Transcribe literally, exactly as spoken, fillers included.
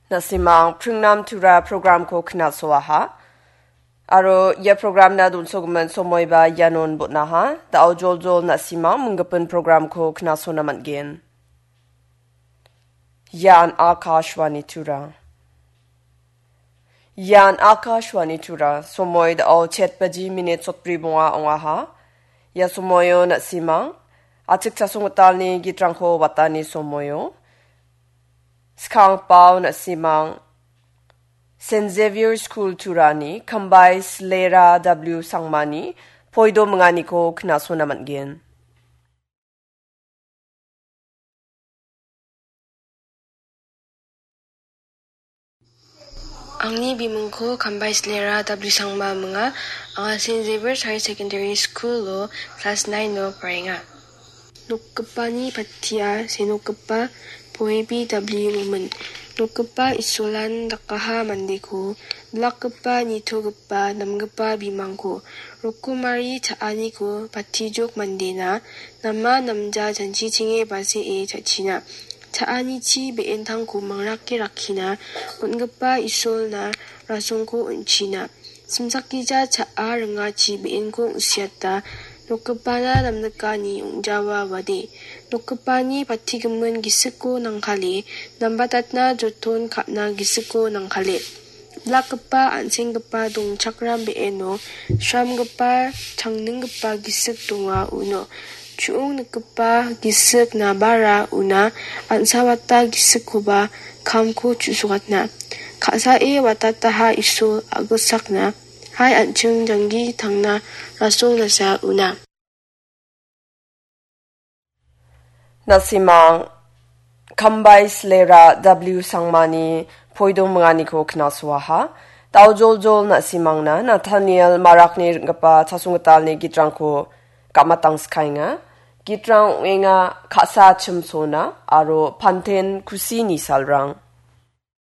Na·simang pringnam tura programko knasoaha. Aro ia programna donsogimin somoiba ianon botnaha. Da·o joljol na·simang minggipin programko knasona man·gen. Ian Akashvani Tura. Ian Akashvani Tura. Somoi da·o chet baji minit sotbri bonga ong·aha. Ia somoio na·simang achik chasonggitalni gitrangko watani somoio. Skangpao na·simang Saint Xavier School Turani Kambai Slera W Sangmani poido minganiko knasona man·gen. Angni bimingko Kambai Slera W Sangma minga. Anga Saint Xavier's Higher Secondary School-o class nine-o praenga. Nokgipani pattia senokgipa Poebi W Momin. Nokgipa Isolan dakaha mandeko, bilakgipa, nitogipa, namgipa bimangko, rokomari cha·aniko patijok mandena, nama namja janchichenge basee cha·china. Cha·anichi be·entangko mangrake rakkina, on·gipa Isolna rasongko on·china. Simsakgija cha·a ringachi be·enko ong·siata, nokgipana namnikani ong·jawa wade. Nokgipani patigimin gisikko nangkale, nambatatna joton ka·na gisikko nangkale. Bilakgipa an·senggipa dongchakram be·eno sramgipa, changninggipa gisik donga uno. Chu·ong nikgipa gisik nabara una, an·sawata gisikkoba kamko chu·sokatna. Ka·sae watataha Isol a·gilsakna, hai an·ching janggi tangna rasongnasa una. Na·simang Kambai Slera W Sangmani poido minganiko knasoaha. Da·o joljol na·simangna Nathaniel Marakni ring·gipa chasonggitalni gitrangko gamatangskaenga. Gitrang ong·enga Ka·sa Chimsona aro Panten Kusini Salrang.